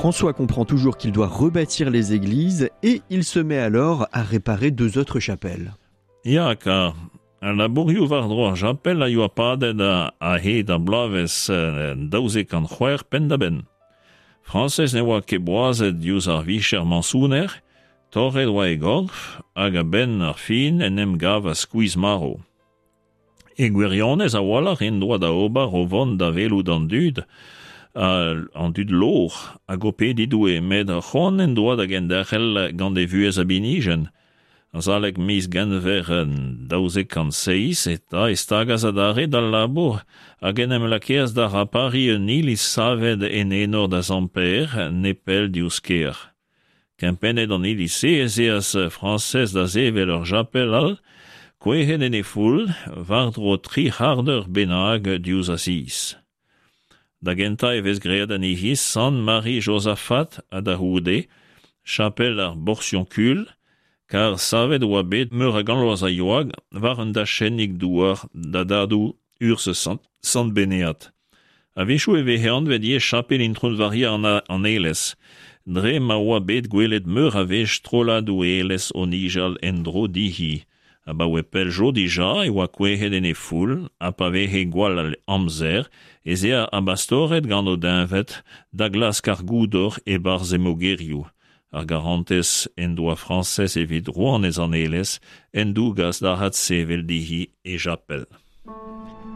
François comprend toujours qu'il doit rebâtir les églises et il se met alors à réparer deux autres chapelles. Ya, kar al labourioù war-dro ar japel a yoa padet a-hed ar bloavezh 1206 penn-da-benn. Frañsez ne oa ket boazet diouzh ar vicher mañsoner, torret oa e gorf hag a-benn ar fin en em gavas skuizh-marv. E gwirionez a-walc'h en doa da ober o vont da welout an dud, an dud lovr hag o pediñ Doue, met c'hoant en doa da genderc'hel gant e vuhez a binijenn. Azalek miz Genver 1207 eta e stagas adarre d'al labour hag en em lakaas da rapariñ un iliz savet en enor da Sant Pêr, nepell diouzh kêr. Kempennet an iliz-se ez eas Frañsez da sevel ur chapel all, kouezhet en he foull, war-dro tri c'hardeur bennak diouzh Asiz. Da gentañ e vez graet anezhi Sant Mari Jozafat ha da c'houde, chapel ar Borsionkul, kar savet e oa bet meur a gant vloaz a yoa war un dachennig douar da dadoù urzh Sant Benead. A-wechoù e veze anvet ivez chapel Intron-Varia an Aelez, dre ma oa bet gwelet meur a wech strolladoù aelez o nijal en-dro dezhi. Abaoe pell zo dija e oa kouezhet en he foull ha pa veze gwall amzer ez ea ar bastored gant o deñved da glask ar goudor e-barzh he mogerioù. Ar garantez en doa Frañsez evit rouanez an Aelez en dougas da adsevel dezhi e japel.